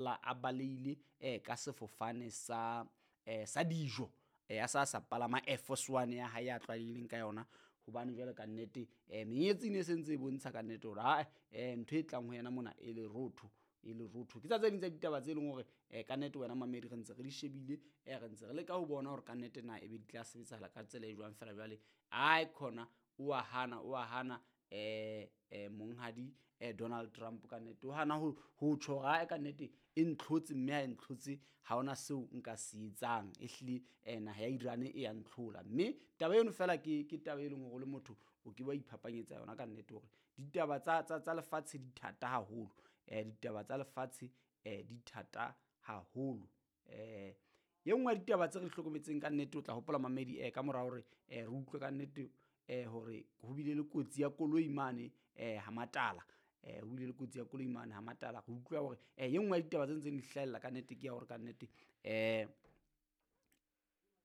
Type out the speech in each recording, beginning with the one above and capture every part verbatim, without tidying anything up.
A baleile eh, ka sefofane sa eh, sa dijo, eh, a sa sa palama Air Force One ya hae ya tlwaelehileng ka yona, hobane jwale ka nnete eh, menyetsi e ne se ntse e bontsha ka nnete hore ae eh, ntho e tlang ho yena mona e lerotho, e lerotho. Ke tsa tse ding tsa ditaba tse leng hore eh, ka nnete wena mamedi re ntse re di shebile, eh, re ntse re leka ho bona hore ka nnete na ebe di tla sebetsahala ka tsela e jwang. Fela jwale ae khona o a hana, o a hana eh, eh, monghadi eh, Donald Trump ka nnete o hana ho ho tjho hore ae ka nnete e ntlhotse, mme ha e ntlhotse ha hona seo nka se etsang, ehlile eh, naha ya Iran e ya ntlhola. Mme taba eno fela ke ke taba e leng hore o le motho o ke wa iphapanyetsa yona ka nnete hore ditaba tsa tsa tsa lefatshe di thata haholo, eh, ditaba tsa lefatshe eh, di thata haholo. Eh, ye nngwe ya ditaba tse re di hlokometseng ka nnete, o tla hopola mamedi eh, ka mora hore eh, re utlwe ka nnete eh, hore ho bile le kotsi ya koloi mane eh, ha Matala, eh, ho bile le kotsi ya koloi mane ha Matala. Re utlwa hore eh, ye nngwe ya ditaba tse ntseng di hlahella ka nnete ke ya hore ka nnete eh,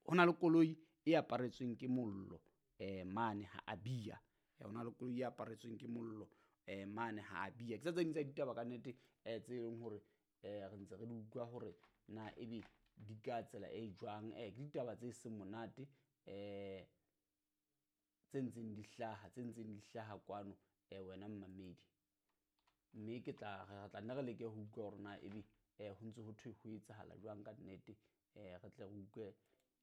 ho na le koloi e aparetsweng ke mollo eh, mane ha Abia, eh, ho na le koloi e aparetsweng ke mollo eh, mane ha Abia. Ke tsa tse ding tsa ditaba ka nnete eh, tse leng hore eh, re ntse re di utlwa hore na ebe di ka tsela e jwang, eh, ke ditaba tse seng monate eh, tse ntseng di hlaha, tse ntseng di hlaha kwano eh, wena mmamedi. Mme ke tla re tla nne re leke ho utlwa hore na ebe eh, ho ntse ho thwe ho etsahala jwang ka nnete, eh, re tle re utlwe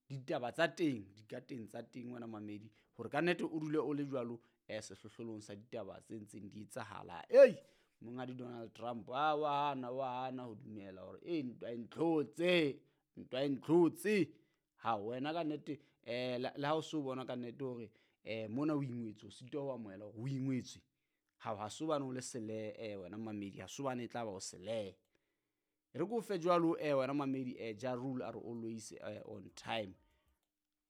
ditaba tsa teng, dikateng tsa teng wena mamedi, hore ka nnete o dule o le jwalo eh, sehlohlolong sa ditaba tse ntseng di etsahala. Ei, monghadi Donald Trump a wa hana, wa hana ho dumela hore e ntwa e ntlhotse, ntwa e ntlhotse. Ha wena ka nnete eh, le ha o so bona ka nnete hore eh, mona o ingwetswe, o sitwa ho amohela hore o ingwetswe. Ha ha so bane o le sele eh, wena mamedi, ha so bane e tla ba o sele. Re ko fe jwalo eh, wena mamedi eh, Ja Rule a re always eh, on time.